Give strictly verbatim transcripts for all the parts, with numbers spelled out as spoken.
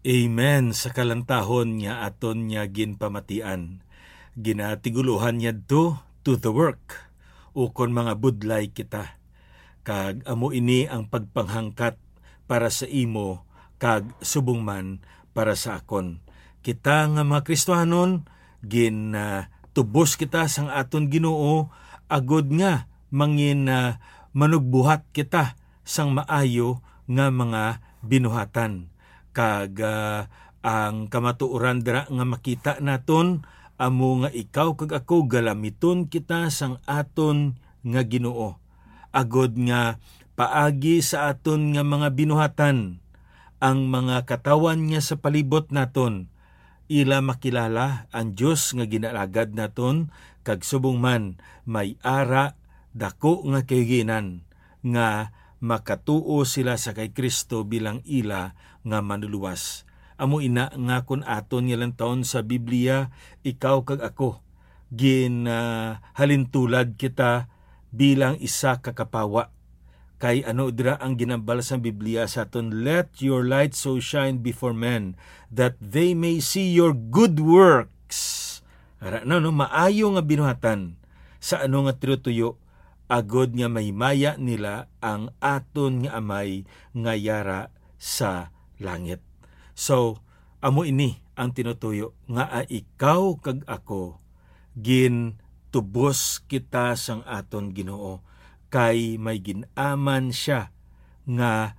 Amen sa kalantahon nga aton nga ginpamatian. Ginatigulohan niya to, to the work, ukon mga budlay kita. Kag amo ini ang pagpanghangkat para sa imo kag subong man para sa akon. Kita nga mga Kristiyanon, gin, ah, tubos kita sang aton Ginoo, agod nga mangin, ah, manugbuhat kita sang maayo nga mga binuhatan. Kag, ah, ang kamatuoran dira nga makita naton amo nga ikaw kag ako galamiton kita sang aton nga Ginoo, agod nga paagi sa aton nga mga binuhatan, ang mga katawhan nga sa palibot naton, ila makilala ang Dios nga ginaalagad naton, kag subong man may ara dako nga kahiginan nga makatuo sila sa kay Cristo bilang ila nga Manluluwas. Amo ina nga kon aton nga lantawon sa Biblia, ikaw kag ako, gin, ah, halintulad kita bilang isa ka kapawa. Kay ano dira ang ginambal sang Biblia sa aton, "Let your light so shine before men, that they may see your good works." Ara na, no, maayo nga binuhatan sa ano nga tinutuyo, agod nga mahimaya nila ang aton nga Amay nga yara sa langit. So, amo ini ang tinutuyo nga, ah, ikaw kag ako, gintubos kita sang aton Ginoo, kay may gin-aman sia nga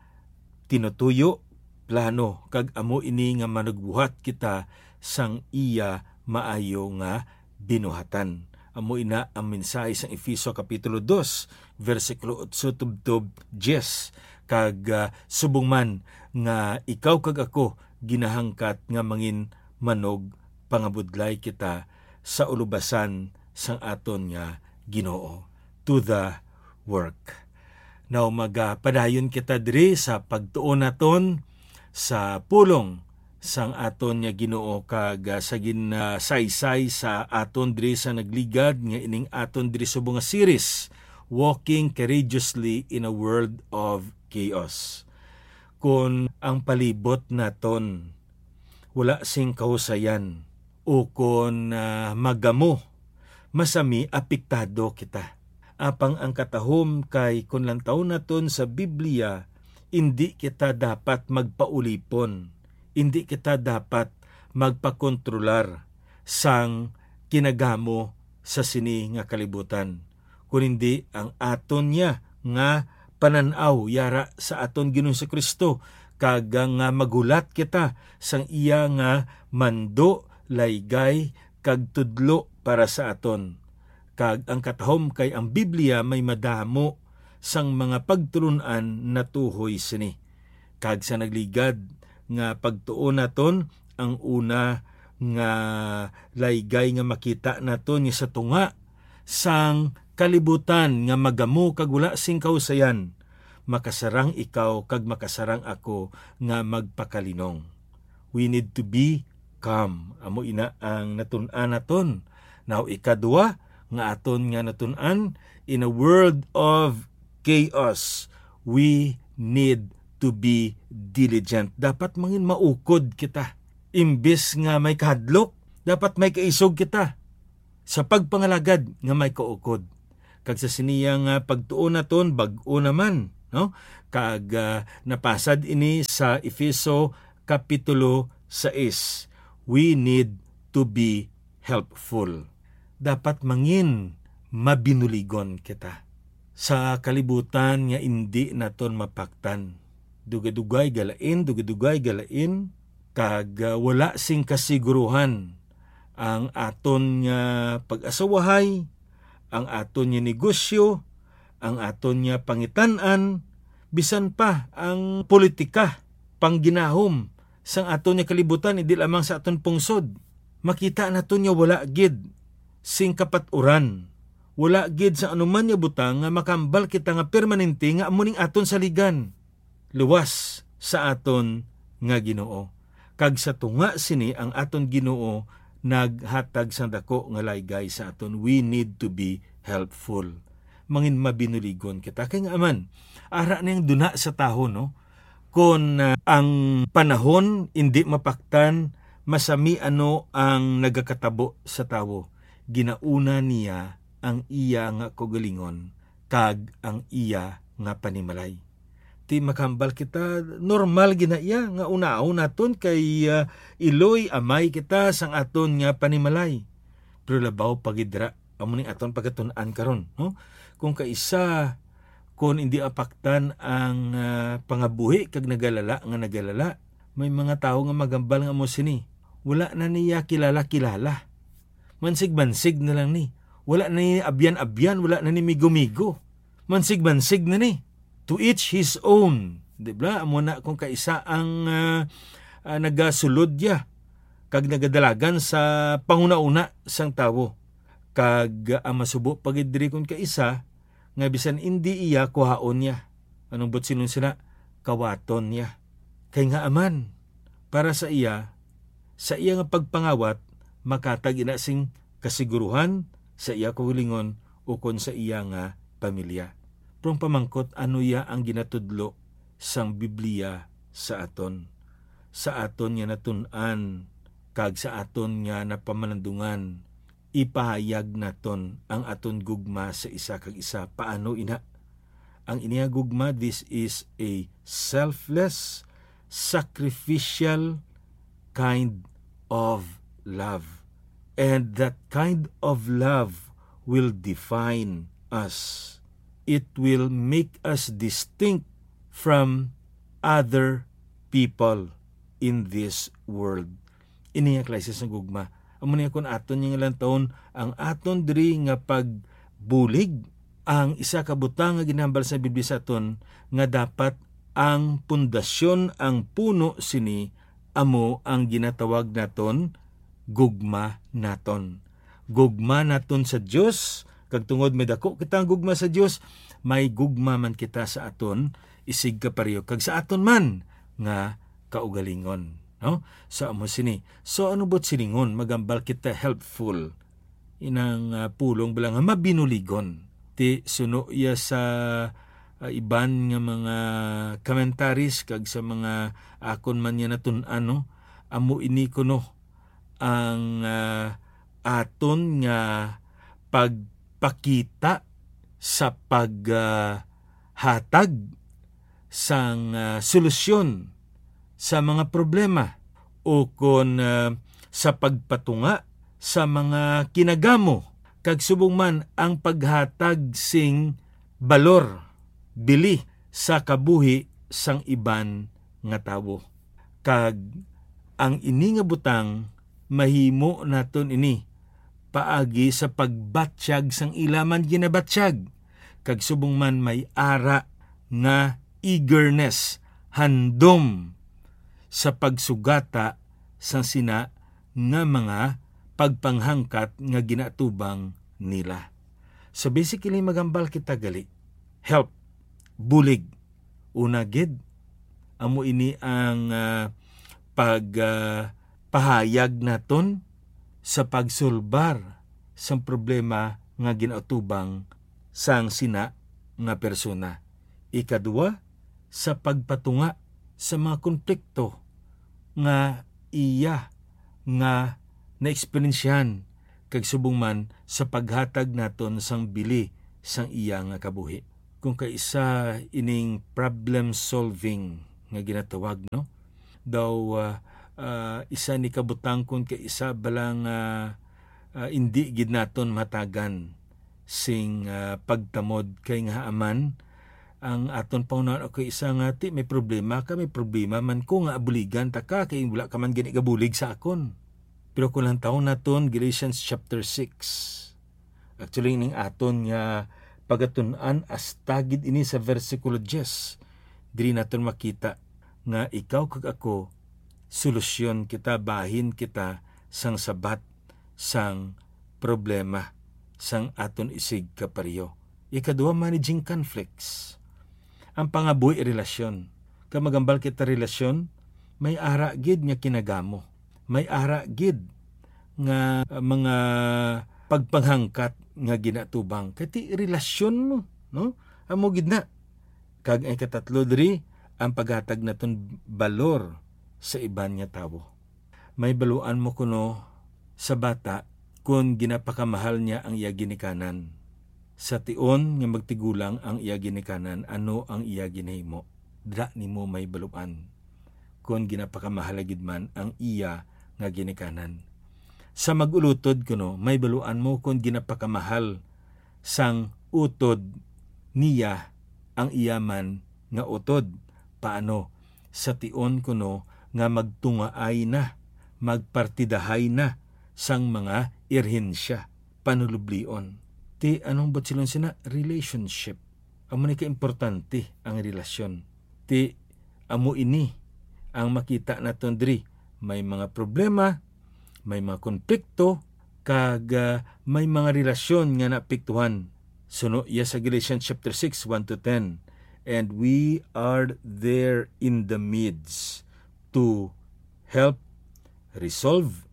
tinutuyo, plano, kag amo ini nga manugbuhat kita sang iya maayo nga binuhatan. Amo ina ang mensahe sang Efeso Kapitulo dos, bersikulo otso tubtob diyes, kag, ah, subong man nga ikaw kag ako ginahangkat nga mangin manugpangabudlay kita sa ulobasan sang aton nga Ginoo. To the work. Now, magapadayon kita diri sa pagtuon naton sa pulong sang aton nga Ginoo, kag, ah, sa gin-, ah, saysay sa aton diri sa nagligad nga ining aton diri subong nga series, Walking Courageously in a World of Chaos. Kon ang palibot naton wala sing kahusayan, ukon, ah, magamo, masami apektado kita. Apang ang katahom kay kon lantawon naton sa Biblia, indi kita dapat magpaulipon, indi kita dapat magpakontrolar sang kinagamo sa sini nga kalibutan, kun hindi ang aton niya nga panan-aw yara sa aton Ginoong Jesu-Cristo, kag nga maghulat kita sang iya nga mando, laygay, kag tudlo para sa aton. Kag ang katahom kay ang Biblia may madamo sang mga pagtulon-an natuhoy sini. Kag sa nagligad nga pagtuon naton, ang una nga laygay nga makita naton nga sa tunga sang kalibutan nga magamo kag wala sing kahusayan, makasarang ikaw kag makasarang ako nga magpakalinong. We need to be calm. Amo ina ang natun-an naton. Now, ikadua nga aton nga natun-an, in a world of chaos, we need to be diligent. Dapat mangin maukod kita. Imbis nga may kahadlok, dapat may kaisog kita sa pagpangalagad nga may kaukod. Kag sa siniya nga pagtuon naton, bag-o naman, no? Kag, ah, napasad ini sa Efeso Kapitulo sais. We need to be helpful. Dapat mangin mabinuligon kita sa kalibutan nga indi naton mapaktan. Dugay-dugay galain, dugay-dugay galain, kag, ah, wala sing kasiguruhan ang aton nga pag-asawahay, ang aton nga negosyo, ang aton nga pangitan-an, bisan pa ang politika, pangginahom sang aton nga kalibutan, hindi lamang sa aton pungsod. Makita naton nga wala gid sing kapat-uran, wala gid sa anuman nga butang nga makambal kita nga permanente nga amo ning aton saligan. Luwas sa aton nga Ginoo. Kag sa tunga sini ang aton Ginoo naghatag sang dako nga laygay sa aton. We need to be helpful. Mangin mabinuligon kita. Kay nga man, ara ning duna sa tawo, no? Kon, ah, ang panahon indi mapaktan, masami ano ang nagakatabo sa tawo. Ginauna niya ang iya nga kaugalingon kag ang iya nga panimalay. Ti makahambal kita, normal gid na iya nga unaon naton kay, ah, iloy amay kita sang aton nga panimalay. Pero labaw pa gid dira, amo ning aton pagatun-an karon, no? Kung kaisa, kung indi apaktan ang, ah, pangabuhi kag nagalala nga nagalala, may mga tawo nga magambal nga amo sini, wala na niya kilala-kilala. Mansig-mansig na lang ni. Wala na ni abyan-abyan, wala na ni migo-migo. Mansig-mansig na ni. To each his own. Di ba? Amo na kung kaisa ang, ah, ah, nagasulod ya kag nagadalagan sa panghunahuna sang tawo. Kag ang masubo pa gid diri kon kaisa, nga bisan indi iya, kuhaon niya. Anong buot silingon sila? Kawaton niya. Kay nga aman, para sa iya, sa iya nga pagpangawat, makatag ina sing kasiguruhan sa iya kaugalingon ukon sa iya nga pamilya. Pero ang pamangkot, ano iya ang ginatudlo sang Biblia sa aton? Sa aton nga natun-an kag sa aton nga napamalandungan, ipahayag naton ang aton gugma sa isa kag isa. Paano ina? Ang ini nga gugma, this is a selfless, sacrificial kind of love. And that kind of love will define us. It will make us distinct from other people in this world. Ini nga klase sang gugma. Amo niya, kung aton nga lantawon ang aton diri nga pagbulig, ang isa ka butang nga ginhambal sa Biblia sa aton nga dapat ang pundasyon, ang puno sini, amo ang ginatawag naton gugma naton. Gugma naton sa Dios, kag tungod may dako kita ang gugma sa Dios, may gugma man kita sa aton isig kapareho kag sa aton man nga kaugalingon, no? Sa amo sini. So, ano buot silingon? Magambal kita helpful. Inang, ah, pulong bala nga mabinuligon. Ti suno iya sa, ah, iban nga mga commentaries kag sa mga akon man nga natun-an, no? Amo ini kuno ang, ah, aton nga pagpakita sa pag, ah, hatag sang, ah, solusyon sa mga problema, ukon, ah, sa pagpatunga sa mga kinagamo, kag subong man ang paghatag sing balor, bili sa kabuhi sang iban nga tawo. Kag ang ini nga butang, mahimo naton ini paagi sa pagbatyag sang ila man ginabatyag, kag subong man may ara nga eagerness, handom sa pagsugata sang sina nga mga pagpanghangkat nga ginaatubang nila. So, basically, magambal kita gali. Help, bulig. Una gid, amo ini ang, ah, pag, ah, pahayag naton sa pagsulbar sang problema nga ginaatubang sang sina nga persona. Ikadua, sa pagpatunga sa mga konflikto nga iya nga naeksperyensyahan, kag subong man sa paghatag naton sang bili sang iya nga kabuhi. Kung kaisa ining problem solving nga ginatawag, no? Daw, ah, ah, isa ni kabutang kung kaisa bala nga, ah, indi gid naton matagan sing, ah, pagtamod, kay nga aman ang aton pangunahan, okay, isa nga ti may problema ka, may problema man ko nga abuligan ta ka, kay wala ka man gani gabulig sa akon. Pero kung lantawon naton Galatians chapter six, actually, ning aton nga pagatun-an, hasta gid ini sa bersikulo diyes, diri naton makita nga ikaw kag ako, solusyon kita, bahin kita sang sabat sang problema sang aton isig kapareho. Ikadua, managing conflicts. Ang pangabuhi relasyon. Kag magambal kita relasyon, may ara gid nga kinagamo. May ara gid nga, uh, mga pagpanghangkat nga ginatubang. Kay ti relasyon mo, no? Amo gid na. Kag ang ikatatlo diri, ang paghatag naton balor sa iban nga tawo. May baluan mo kuno sa bata kon ginapakamahal niya ang iya ginikanan. Sa tion nga magtigulang ang iya ginikanan, ano ang iya ginahimo? Dira nimo may baluan kon ginapakamahal gid man ang iya nga ginikanan. Sa mag-ulutod kuno, may baluan mo kon ginapakamahal sang utod niya ang iya man nga utod. Paano? Sa tion kuno nga magtungaay na, magpartidahay na sang mga irhensya, panulublion. Ti anong buot silingon sina? Relationship. Amo ni kaimportante ang relasyon. Ti amo ini ang makita naton diri. May mga problema, may mga konflikto, kag, ah, may mga relasyon nga naapektuhan. Suno iya sa Galatians chapter six, one to ten. "And we are there in the midst to help resolve,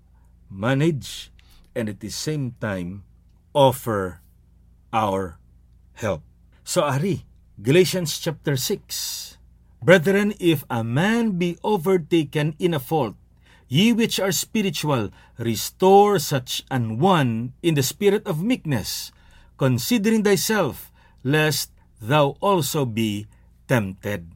manage, and at the same time offer our help." So, ari, Galatians chapter six, "Brethren, if a man be overtaken in a fault, ye which are spiritual, restore such an one in the spirit of meekness, considering thyself, lest thou also be tempted."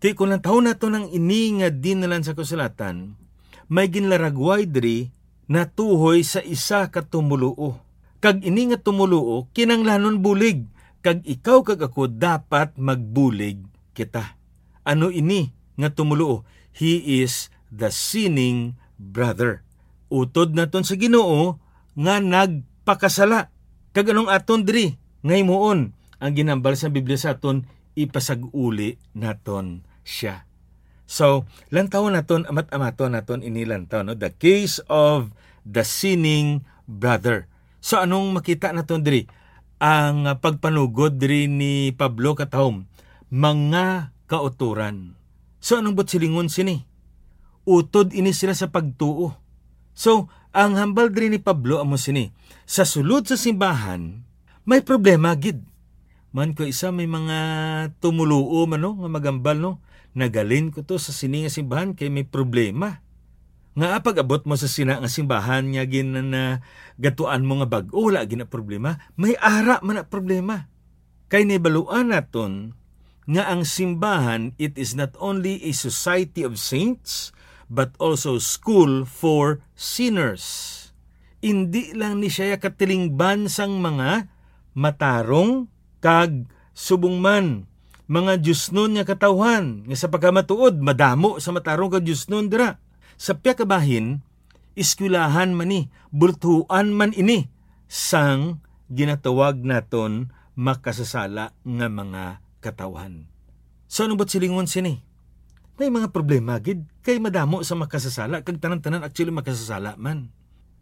Ti kung lantawon naton ang ini nga dinalan sa kasulatan, may ginlaragway diri natuhoy sa isa ka tumoluo. Kag ini nga tumoluo kinahanglanon bulig, kag ikaw kag ako dapat magbulig kita. Ano ini nga tumoluo? He is the sinning brother. Utod naton sa Ginoo nga nagpakasala. Kag anong aton diri nga himuon? Ang ginhambal sa Biblia sa aton, ipasag-uli naton sia. So, lantawon naton, amat-amaton naton ini lantaw, no? The case of the sinning brother. So, anong makita naton diri? Ang, ah, pagpanugod diri ni Pablo katahom, mga kautoran. So, anong buot silingon sini? Utod ini sila sa pagtuo. So, ang hambal diri ni Pablo amo sini, sa sulod sa simbahan, may problema gid. Man ko isa, may mga tumoluo man, no, nga magambal, no, "Nagalin ko to sa sini nga simbahan kay may problema." Nga pag-abot mo sa sina nga simbahan nga gin-, na gatuan mo nga bag-o, wala gina problema. May ara man na problema. Kay nahibaluan naton nga ang simbahan, it is not only a society of saints, but also school for sinners. Indi lang ni siya katilingban sang mga matarong kag subong man, mga diosnon nga katawhan, nga sa pagkamatuod, madamo sa matarong kag diosnon dira. Sa pihak ka bahin, eskwelahan man ni, bultuan man ini sang ginatawag naton makasasala nga mga katawhan. So, ano buot silingon sini? May mga problema gid, kay madamo sa makasasala, kag tanan-tanan actually makasasala man.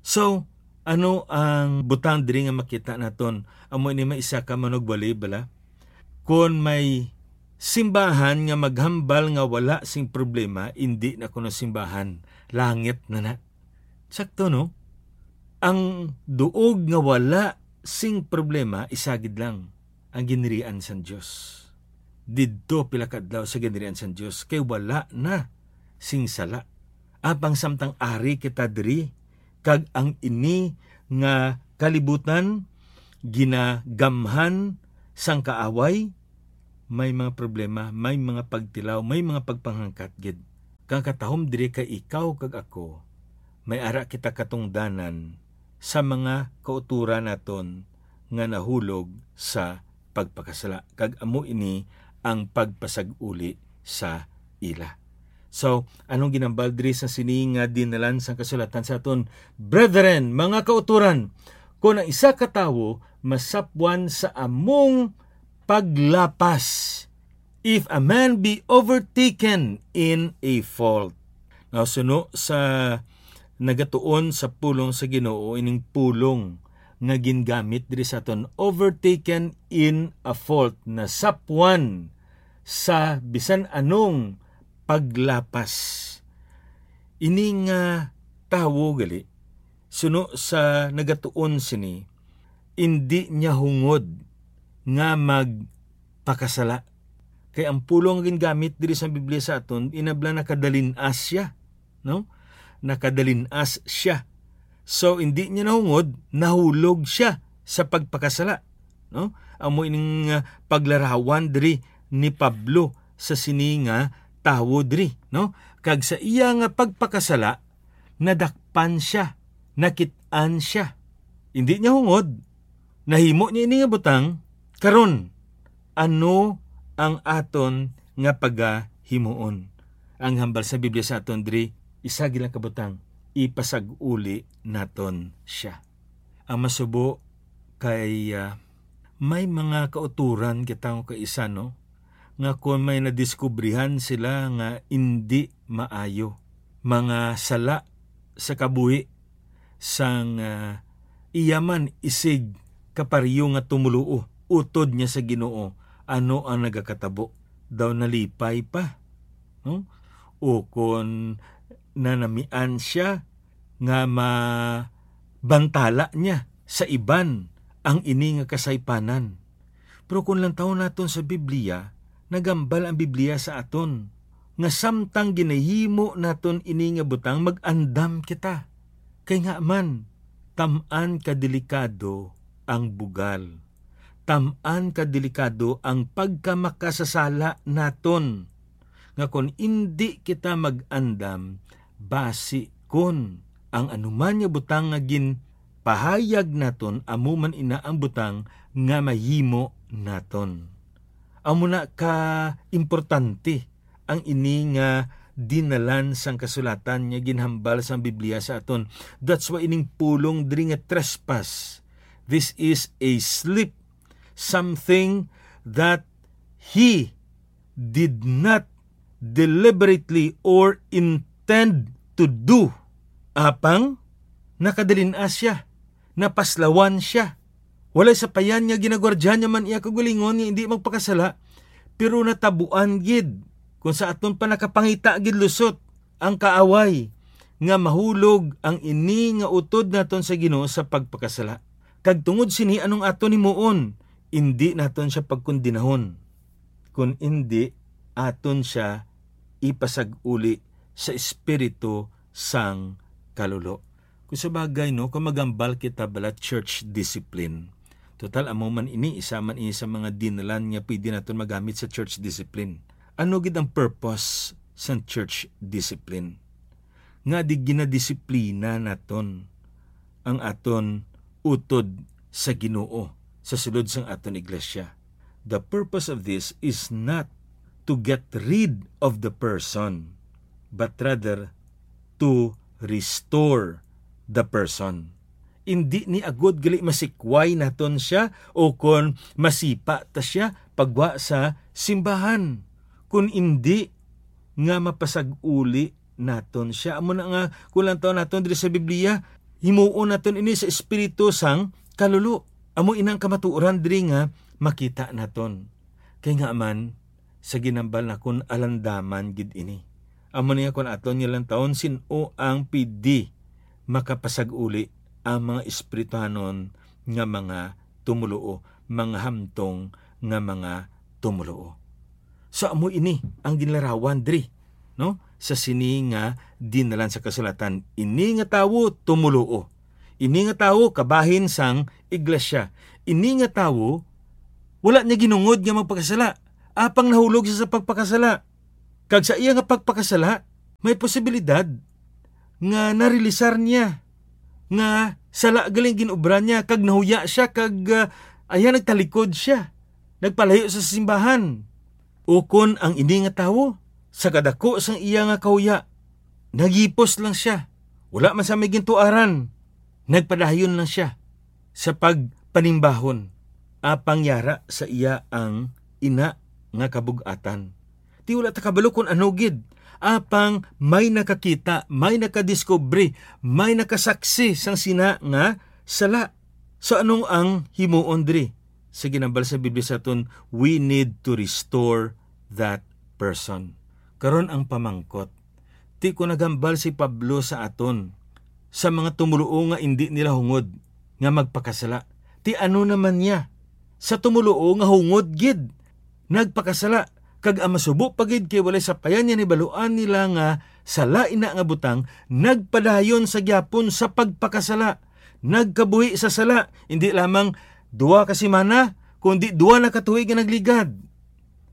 So, ano ang butang diri nga makita naton? Amo ini may isa ka manugwali bala. Kon may simbahan nga maghambal nga wala sing problema, indi na kuno simbahan, langit na na. Sakto, no? Ang duog nga wala sing problema, isa gid lang, ang ginharian sang Dios. Didto pila ka adlaw sa ginharian sang Dios, kay wala na sing sala. Apang samtang ari kita diri, kag ang ini nga kalibutan ginagamhan sang kaaway, may mga problema, may mga pagtilaw, may mga pagpanghangkat gid. Kang katahom diri kay ikaw kag ako, may ara kita katungdanan sa mga kautoran naton nga nahulog sa pagpakasala, kag amo ini ang pagpasag-uli sa ila. So, anong ginambal diri sa sini nga dinalan sang kasulatan sa aton? Brethren, mga kautoran, kon ang isa ka tawo masapwan sa among paglapas, if a man be overtaken in a fault. Now, suno sa nagatuon sa pulong sa Ginoo, ining pulong nga gingamit diri sa aton, overtaken in a fault, nasapwan sa bisan anong paglapas. Ini nga tawo gali, suno sa nagatuon sini, indi niya hungod nga magpakasala. Kay ang pulong nga gingamit diri sa Biblia sa aton, inabla nakadalin-as siya, no? Nakadalin-as siya. So, hindi niya nahungod, nahulog siya sa pagpakasala, no? Amo ining, ah, paglarawan diri ni Pablo sa sini nga tawo diri, no? Kag sa iya nga pagpakasala, nadakpan siya, nakit-an siya. Hindi niya hungod, nahimo niya ini nga butang. Karon, ano ang aton nga pagahimuon? Ang hambal sa Biblia sa aton diri, isa gid lang ka butang, ipasag-uli naton sia. Ang masubo kay, ah, may mga kauturan kita nga kaisa, no, nga kon may nadiskubrihan sila nga indi maayo, mga sala sa kabuhi sang, ah, iya man isig kapareho nga tumoluo, utod niya sa Ginoo, ano ang nagakatabo? Daw nalipay pa, no? O kon nanamian siya nga mabantala niya sa iban ang ini nga kasaypanan. Pero kung lantawon naton sa Biblia, nagambal ang Biblia sa aton nga samtang ginahimo naton ini nga butang, mag-andam kita. Kay nga man, tam-an ka delikado ang bugal. Tam-an ka delikado ang pagkamakasasala naton, nga kon indi kita mag-andam, basi kon ang anuman nga butang nga ginpahayag naton, amo man ina ang butang nga mahimo naton. Amo na ka importante ang ini nga dinalan sang kasulatan nga ginhambal sang Biblia sa aton. That's why ining pulong diri nga trespass, this is a slip, something that he did not deliberately or intend to do. Apang nakadalin-as siya, napaslawan siya. Walay sapayan nga ginagwardya niya man iya kaugalingon nga hindi magpakasala, pero natabuan gid, kung sa aton pa nakapangita gid lusot ang kaaway, nga mahulog ang ini nga utod naton sa Ginoo sa pagpakasala. Kag tungod sini, anong aton himuon? Indi naton siya pagkondinahon, kun indi, aton siya ipasag-uli sa espiritu sang kaluluo. Kung sa bagay, no, kung magambal kita bala church discipline, total, amo man ini, isa man ini sa mga dinalan nga pwede naton magamit sa church discipline. Ano gid ang purpose sang church discipline? Nga di ginadisiplina naton ang aton utod sa Ginoo sa sulod sang aton iglesia. The purpose of this is not to get rid of the person, but rather to restore the person. Indi ni agod gali masikway naton siya o kon masipa ta siya pagwa sa simbahan, kun indi nga mapasag-uli naton siya. Amo na nga, kung lantawon naton diri sa Biblia, himuon naton ini sa espiritu sang kaluluo. Amo ina ang kamatuoran diri nga makita naton. Kay nga man, sa ginambal nakon, alandaman gid ini. Amo niya, kung aton nga lantawon, sin-o ang pidi makapasag-uli ang mga espirituhanon nga mga tumoluo, mga hamtong nga mga tumoluo. So, amo ini ang ginlarawan diri, no? Sa sini nga dinalan sa kasulatan, ini nga tawo tumoluo. Ini nga tawo kabahin sang iglesia. Ini nga tawo wala niya ginungod nga magpakasala. Apang nahulog siya sa pagpakasala. Kag sa iya nga pagpakasala, may posibilidad nga narealisar niya nga sala galing ginobra niya, kag nahuya siya, kag, ah, ayan, nagtalikod siya, nagpalayo sa simbahan. Ukon ang ini nga tawo, sa kadako sang iya nga kahuya, naghipos lang siya. Wala man sa may gintuaran, nagpadayon lang siya sa pagpanimbahon, apang yara sa iya ang ina nga kabug-atan. Ti wala ta kabalo kon ano gid, apang may nakakita, may nakadiskubre, may nakasaksi sang sina nga sala. So, ano ang himuon diri? Sa ginambal sa Biblia sa aton, we need to restore that person. Karon ang pamangkot, ti kon naghambal si Pablo sa aton, sa mga tumoluo nga indi nila hungod nga magpakasala, ti ano naman niya sa tumoluo nga hungod gid nagpakasala? Kag ang masubo pa gid, kay walay sapayan niya, nahibaluan nila nga sala ina nga butang, nagpadayon sa gyapon sa pagpakasala, nagkabuhi sa sala, hindi lamang duha ka semana, kundi duha na ka tuig nga nagligad.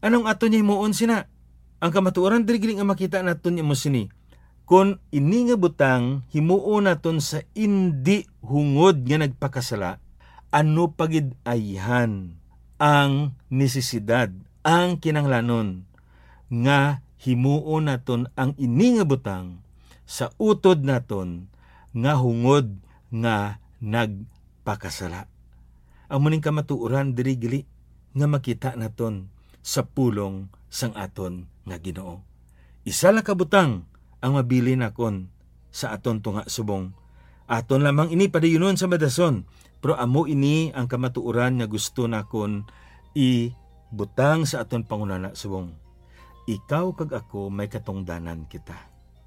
Anong aton niya himuon sina? Ang kamatuoran diri gid nga makita naton amo sini, kon ini nga butang himuon naton sa indi hungod nga nagpakasala, ano pa gid ayhan ang nesesidad, ang kinahanglanon nga himuon naton ang ini nga butang sa utod naton nga hungod nga nagpakasala. Amo ning kamatuoran diri gili nga makita naton sa pulong sang aton nga Ginoo. Isa lang ka butang ang mabilin nakon sa aton tunga subong. Aton lamang ini padayunon sa madason, pero amo ini ang kamatuoran nga gusto nakon ibutang sa aton panghunahuna subong. Ikaw kag ako may katungdanan kita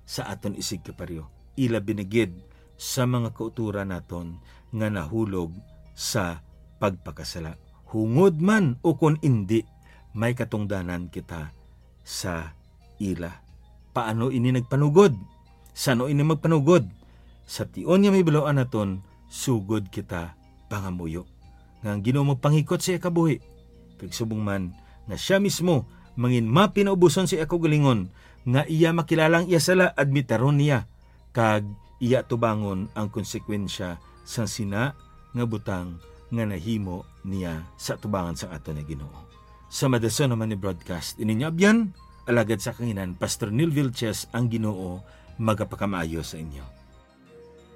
sa aton isigkapariho, ilabi na gid sa mga kautoran naton nga nahulog sa pagpakasala. Hungod man o kon indi, may katungdanan kita sa ila. Paano ini nagpanugod? Sano ini magpanugod? Sa tion nga mahibaluan naton, sugod kita pangamuyo nga ang Ginoo magpanghikot sa iya kabuhi, kag subong man nga sia mismo mangin mapinaubuson sa iya kaugalingon, nga iya makilala ang iya sala, admitaron niya, kag iya tubangon ang konsekwensya sang sina nga butang nga nahimo niya sa atubangan sang aton nga Ginoo. Sa madason naman ni broadcast, ininyo abyan, alagad sa kanginan, Pastor Neil Vilches, ang Ginoo magapakamaayo sa inyo.